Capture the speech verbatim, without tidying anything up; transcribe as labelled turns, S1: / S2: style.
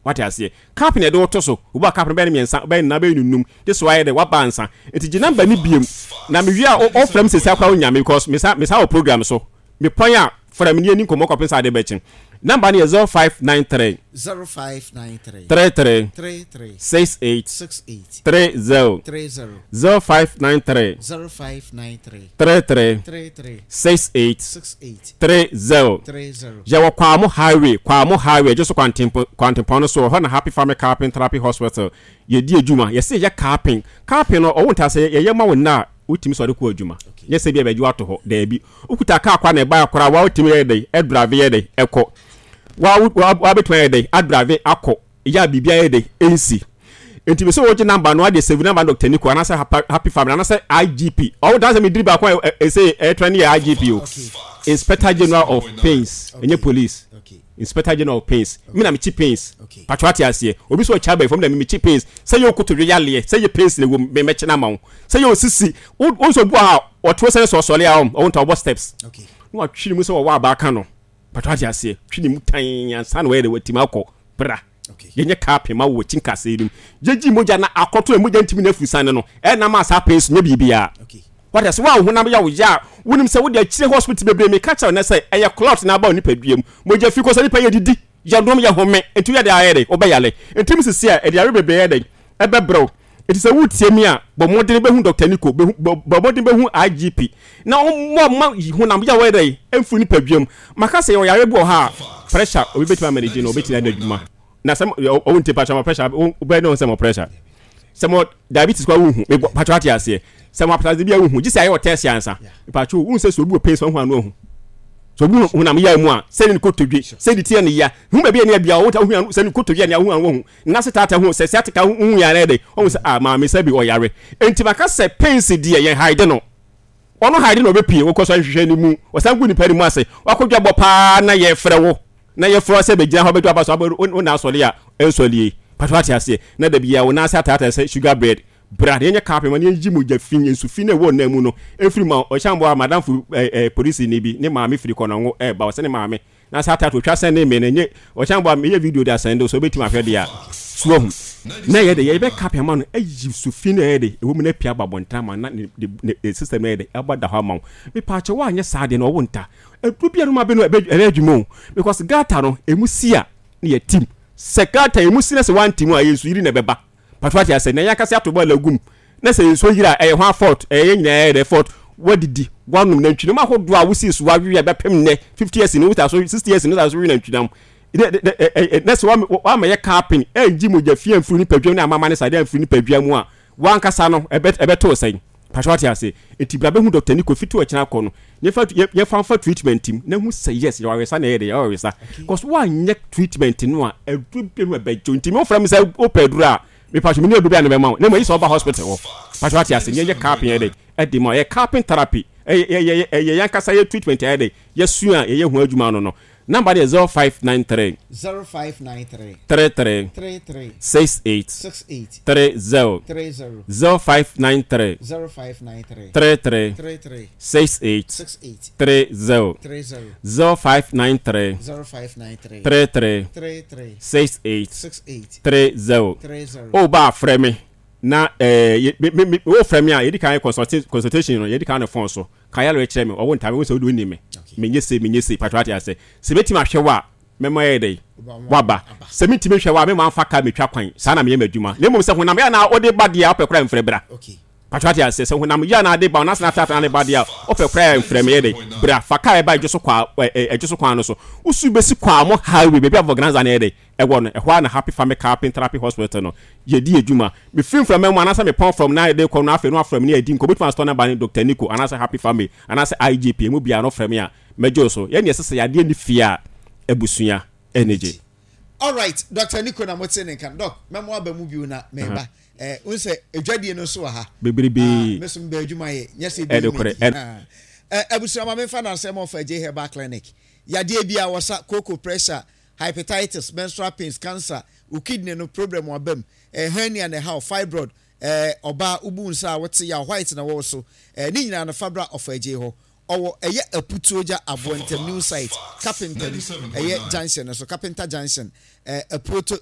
S1: Wate aseɛ? Cap na yɛde woto so. Wobu a, cap no bɛyɛ no mmiɛnsa, bɛyɛ no nan, bɛyɛ no num gye so ayɛ dɛ waba ansa. Nti gye number no biem na mewie a, wofrɛ me sɛsi akora, wonya me because mesa mesa wɔ program so. Mepɔn a, frɛ me ne yɛni nkɔmmɔ kɔpem sɛ ade bɛkye. Number no yɛ zero five nine three
S2: zero five nine three
S1: three three
S2: three three
S1: six eight
S2: six eight
S1: three zero.
S2: three zero.
S1: zero five nine three
S2: zero five nine three
S1: three three
S2: three three
S1: six eight
S2: six eight
S1: three zero.
S2: three zero.
S1: Yɛwɔ Kwamo Highway, Kwamo Highway gye so kwantempɔn no so hɔ na Happy Family Cupping Therapy Hospital yɛdi adwuma. Yɛsɛ yɛ cupping. Cupping no, ɔwo nta sɛ yɛyɛ ma wo nna a wotumi sɔre kɔ adwuma, nyɛ sɛ bi a bɛgye wato hɔ. Daabi, wokuta kaa kwa na ɛbaa koraa wa, wotumi yɛ dɛn ɛdrive, yɛ dɛn ɛkɔ wa, wabɛtumi ayɛ dɛn adrive akɔ yɛ a biribi ayɛ dɛn ɛnsi. Nti bi sɛ wogye number no ade save number, Doctor Nico anaasɛ Happy Family anaasɛ I G P. Ɔwo dan sɛ mediri baako a ɛsɛ ɛtrɛ ne yɛ I G P o, Inspector General of Pains, ɛnyɛ police, Inspector General of Pains. Mi na mekyi pains. Patro, ate aseɛ? Obi sɛ ɔkya abɛɛfo, mi na mekyi pains. Sɛ yɛ okotodwe yaleɛ, sɛ yɛ pains na ɛwɔ mu, mɛmɛkyi na ama wo. Sɛ yɛ osisi wo nso bu a ɔto sɛ sɛ ɔsɔle a, ɔwo nta ɔbɔ steps na watwi ne mu sɛ wɔwɔ abaaka no. Patro, ate aseɛ? Twi ne mu tan ansa na wɔyɛ de watimi akɔ bra. Yɛnyɛ kaa ma wɔ akyi nkasɛɛ no mu, yɛgyi mogya na akɔto a mogya ntumi no afiri sane no ɛnam a saa pains nyɛ biribiara. Wate sɛ woa honam yɛ wo yɛ a, wonim sɛ wode akyire hospital bebree. Meka kyerɛ no sɛ ɛyɛ clot na aba wo nipadua mu, mogya fi kɔ sɛ nipa yɛ didi, yɛnom, yɛ home, nti woyɛ de ayɛ dɛ wobɛyale. Nti mu sisi a ɛde yare bebree yɛ dɛ ɛbɛbrɛw. Nti sɛ wotie mi a, bɔ mmɔden bɛhu Doctor Nico, bɔ mmɔden bɛhu I G P na ɔmmɔ ma honam yɛ wɔyɛ dɛ ɛmfiri nipadua mu. Maka sɛ yɛwɔ yare bi wɔ ha a, pressure, obi bɛtumi amanage no, obɛtumi ayɛ adwuma na sɛ ɔwo nte patwa ma pressure wobɛyɛ ne sɛ mɔ pressure, sɛ mɔ diabetes kɔ wohu patwa. Ate aseɛ? Sɛ mɔ apatase bi a wohu gye sɛ ayɛ wɔ test ansa. Patwa, wohu sɛ sɛ obi wɔ pain sɛ wohu ano ahu sɛ obi honam yɛ mu a, sɛ ne kotodwe, sɛ ne tiɛ ne ya hu baabi a ne abia wo hu sɛ ne kotodwe ne ahu ano hu na se tata hu sɛ sciatica hu yɛ anɛ de ɔhu sɛ ah, maame sɛ bi ɔyare. Enti maka sɛ pains deɛ, yɛn hide no, ɔno hide na ɔbɛpie wokɔ so ahwehwɛ ne mu, ɔsan gu nipa ne mu ase, wakɔdwa bɔ paa na yɛfrɛ wo na yɛfrɛ sɛ bɛgyina hɔ bɛdwa aba so wo na asɔre a ɛnsɔlie. Patro, ate aseɛ? Na da bia wo nan ase ataata sɛ sugar bread. Bra na yɛnyɛ kaa ma na yɛnyi mogya fi nsu fi na ɛwɔ nan mu no ɛmfiri ma ɔhyɛn bɔ a. Madamfo ɛɛ ɛɛ polisi ni bi ne maame firi kɔnɔngo ɛɛba, ɔsɛ ne maame na sɛ ataata otwa sɛn ne me no nye ɔhyɛn bɔ a, meyɛ video de asɛn de so obɛtumi ahwɛ deɛ a so ahu na yɛ de yɛbɛ kaa ama no ayi su fi na yɛ de ɛwɔ mu na apia aba abɔnten ama na ne ne ne system na yɛ de ɛbɔ da hɔ ama wo. Mepaakyɛ, woanyɛ saa deɛ na ɔwo nta aduro bi a no ma bɛ no ɛbɛ adwuma o, because gutter no emu si a ne yɛ tim sɛ gutter emu si na sɛ wanti mu a, ɛyɛ nsu yiri na ɛbɛba. Patro, ate asɛ? Na yɛn akasɛ ato bɔɔla gum na sɛ nsuo yiri a, ɛyɛ hwan fault? Ɛyɛ yɛn nyinaa yɛ dɛ fault. Wadidi, wanom nantwinam ahodoɔ a wosi so wawe a bɛpem nnɛ fifty years ni, wota so sixty years ni, wota so we nantwinam na sɛ wama yɛ cupping ɛngyi mogya fie amfiri nipadua ne amama ne sade amfiri nipadua mu a, wankasa no ɛbɛtoo sɛn? Patro, ate ase? Nti bra bɛhu Doctor Nico fiti ɔkyena kɔ no, yɛfa mfa treatment mu na hu sɛ yes, yɛwɔ awesa na ɛyɛ de yɛwɔ awesa, cause woanyɛ treatment no a, aduro bi no ɛbɛgye. Nti me wofrɛ me sɛ wopɛ aduro a, mepatro, mene aduro bi a ne bɛma wo na mmom ɛyi sɛ ɔba hospital hɔ. Patro, ate ase? Ne yɛyɛ cupping yɛ de ɛde ma yɛ cupping therapy, ɛyɛ ɛyɛ yɛn yɛ treatment ɛyɛ de yɛsua a yɛyɛ ho adwuma no no Number no yɛ zero five nine three
S2: zero five nine three
S1: three three
S2: three three
S1: six eight
S2: six eight
S1: three zero.
S2: three zero.
S1: zero five nine three
S2: zero five nine three
S1: three three
S2: three three
S1: six eight
S2: six eight
S1: three zero.
S2: three zero.
S1: zero five nine three
S2: zero five nine three
S1: three three
S2: three three
S1: six eight
S2: six eight
S1: three zero.
S2: three zero.
S1: O ba frɛ me na ɛɛ me me me wo frɛ me a, yɛdi kan consultation no, yɛdi kan ne phone so kan yɛlɛ kyerɛ me ɔwɔ ntaame wo sɛ wode wonim me, menyɛ se menyɛ se. Patro, ate ase? Sɛ mɛtumi ahwɛ wo a, mɛma yɛ dɛ waba. Sɛ mentumi hwɛ wo a, mɛma mfa ka metwa kwan saa na meyɛ m'adwuma. Na mmom sɛ honam yɛ na wode ba deɛ a, wopɛ koraa mfrɛ bra. Patro, ate ase? Sɛ honam yɛ na ade ba ɔnasena atata na ba deɛ a, wopɛ koraa mfrɛ me yɛ dɛ bra fa kaa ɛba ɛdwo so kwa ɛdwo so kwan no so, wosu bɛsi Kwamo Highway baabi a vulcanizer no yɛ dɛ ɛwɔ no, ɛhɔ a na Happy Family Cupping Therapy Hospital no yɛdi adwuma. Mefiri mframa mu anaasɛ mepɔn from na yɛde kɔ no, afei no afrɛ me ne yɛdi nkɔ. Wobɛtumi asotɔ number ne Doctor Nico anaasɛ Happy Family anaasɛ I G P emu biara no, frɛ me a mɛgye wo so. Yɛne ɛsɛ sɛ yadeɛ ne fie a abusua ɛne gye.
S2: Alright, Doctor Nico na mote ne nka. Doc, mɛmo aba mu bio na meba eh n sɛ adwadie no nso wɔ ha.
S1: Bebrebe.
S2: Ah, me so mbɛ adwuma yɛ nyɛ sɛ
S1: ɛde korɛ.
S2: Eh, abusua, ma memfa nansɛm ɔfa J Herbal Clinic. Yadeɛ bi a wɔsa cocoa, pressure, hepatitis, menstrual pains, cancer, wo kidney no problem waba mu, eh, hernia na ɛha, fibroid, eh, ɔbaa wobu nsa a wote ya, white na wɔwɔ so, eh, ne nyinaa no fabra ɔfa agye hɔ. Ɔwɔ ɛyɛ Aputuogya Aboɔ Ntɛm New Site, Carpenter ɛyɛ junction no so, Carpenter Junction, eh, Apuoto